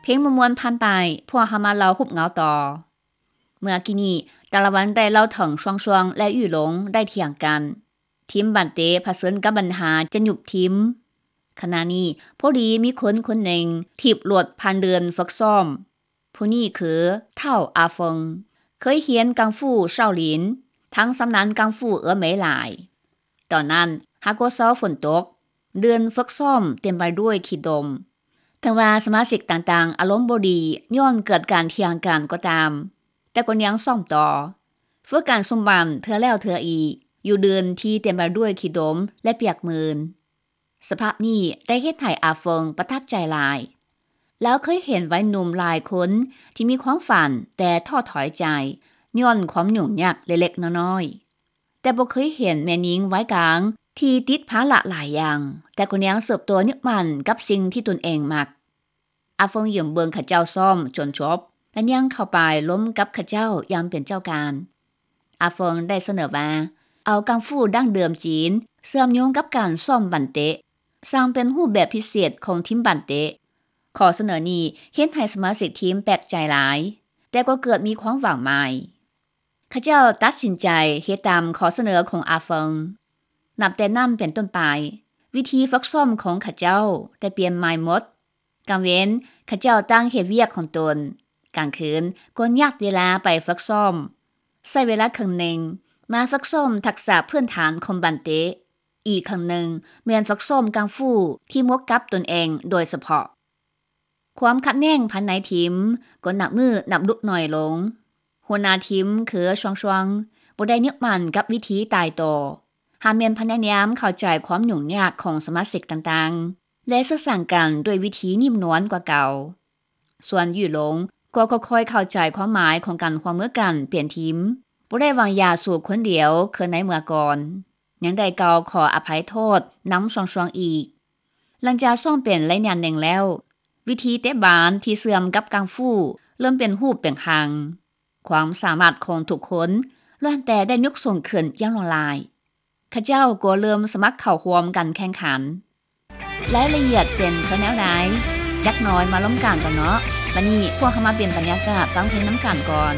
ເພງມ່ວນໆຜ່ານໄປ, ພວກເຮົາມາເລົ່າຮູບເງົາຕໍ່. ເມື່ອກີ້ນີ້, ຕາລະວັນໄດ້ເລົ່າເຖິງຊວາງຊວາງ ແລະ ຫຍູ່ຫຼົງໄດ້ຖຽງກັນ. ທີມບານເຕະຜະເຊີນກັບບັນຫາຈະຍຸບທີມ. ຂະນະນີ້, ພໍດີມີຄົນຄົນໜຶ່ງຖີບລົດຜ່ານເດີ່ນຝຶກຊ້ອມ. ຜູ້ນີ້ຄືທ້າວອາເຟິງ, ເຄີຍຮຽນກັງຟູເຊົາຫຼິນ, ທັງຊຳນານກັງຟູເອີເມຫຼາຍ. ຕອນນັ້ນຫາກໍເຊົາຝົນຕົກ, ເດີ່ນຝຶກຊ້ອມເຕັມໄປດ້ວຍຂີ້ດົມ. ເຖິງວ່າສະມາຊິກຕ່າງໆອາລົມບໍ່ດີຍ້ອນເກີດການຖຽງກັນກໍຕາມ, ແຕ່ກໍຍັງຊ້ອມຕໍ່, ຝຶກການຊຸມບັນເທື່ອແລ້ວເທື່ອອີກ, ຢູ່ເດີ່ນທີ່ເຕັມໄປດ້ວຍຂີ້ດົມ ແລະ ປຽກມື່ນ. ສະພາບນີ້ໄດ້ເຮັດໃຫ້ອາເຟິງປະທັບໃຈຫຼາຍ. ລາວເຄີຍເຫັນໄວໜຸ່ມຫຼາຍຄົນທີ່ມີຄວາມຝັນແຕ່ທໍ້ຖອຍໃຈຍ້ອນຄວາມຫຍຸ້ງຍາກເລັກໆນ້ອຍໆ, ແຕ່ບໍ່ເຄີຍເຫັນແມ່ຍິງໄວກາງທີ່ຕິດພາລະຫຼາຍຢ່າງ, ແຕ່ກໍຍັງເຕີບໂຕຍຶດໝັ້ນກັບສິ່ງທີ່ຕົນເອງມັກ. ອາເຟິງຢືມເບິ່ງເຂົາເຈົ້າຊ້ອມຈົນຈົບ ແລະ ຍ່າງເຂົ້າໄປລົມກັບເຂົາເຈົ້າຢ່າງເປັນເຈົ້າການ. ອາເຟິງໄດ້ສະເໜີວ່າ ເອົາກັງຟູດັ້ງເດີມຈີນເຊື່ອມໂຍງກັບການຊ້ອມບັນເຕະ, ສ້າງເປັນຮູບແບບພິເສດຂອງທີມບັນເຕະ. ຂໍ້ສະເໜີນີ້ເຮັດໃຫ້ສະມາຊິກທີມແປກໃຈຫຼາຍ, ແຕ່ກໍເກີດມີຄວາມຫວັງໃໝ່. ເຂົາເຈົ້າຕັດສິນໃຈເຮັດຕາມຂໍ້ສະເໜີຂອງອາເຟິງ. ນັບແຕ່ນັ້ນເປັນຕົ້ນໄປ, ວິທີຝຶກຊ້ອມຂອງເຂົາເຈົ້າໄດ້ປ່ຽນໃໝ່ໝົດ. ກາງເວັນ, ເຂົາເຈົ້າຕັ້ງເຮັດວຽກຂອງຕົນ, ກາງຄືນກໍຍັດເວລາໄປຝຶກຊ້ອມ, ໃຊ້ເວລາເຄິ່ງໜຶ່ງມາຝຶກຊ້ອມທັກສະພື້ນຖານຂອງບັນເຕະ, ອີກເຄິ່ງໜຶ່ງແມ່ນຝຶກຊ້ອມກັງຟູທີ່ໝົດກັບຕົນເອງໂດຍສະເພາະ. ຄວາມຂັດແຍ່ງພາຍໃນທີມກໍນັບມື້ນັບລຸກໜ້ອຍລົງ. ຫົວໜ້າທີມຄືຊວາງຊວາງບໍ່ໄດ້ຍຶດໝັ້ນກັບວິທີຕາຍໂຕ, ຫາກແມ່ນພະຍາຍາມເຂົ້າໃຈຄວາມຫຍຸ້ງຍາກຂອງສະມາຊິກຕ່າງໆ ແລະ ສື່ສານກັນດ້ວຍວິທີນຸ່ມນວນກວ່າເກົ່າ. ສ່ວນຫຍູ່ຫຼົງກໍຄ່ອຍໆເຂົ້າໃຈຄວາມໝາຍຂອງການຮ່ວມມືກັນເປັນທີມ, ບໍ່ໄດ້ວາງຢາສູບຄົນດຽວຄືໃນເມື່ອກ່ອນ, ຍັງໄດ້ກ່າວຂໍອະໄພໂທດນຳຊວາງຊວາງອີກ. ຫຼັງຈາກຊ້ອມເປັນໄລຍະໜຶ່ງແລ້ວ, ວິທີເຕະບານທີ່ເຊື່ອມກັບກັງຟູເລີ່ມເປັນຮູບເປັນຮ່າງ. ຄວາມສາມາດຂອງທຸກຄົນລ້ວນແຕ່ໄດ້ຍົກສູງຂຶ້ນຢ່າງຫຼວງຫຼາຍ. ເຂົາເຈົ້າກໍເລີ່ມສະໝັກເຂົ້າຮ່ວມການແຂ່ງຂັນ. ລາຍລະອຽດເປັນຄືແນວໃດ? ຈັກໜ້ອຍມາລົມກັນຕໍ່ເນາະ. ບັດນີ້ພວກເຮົາມາປ່ຽນບັນຍາກາດຟັງເພງນຳກັນກ່ອນ.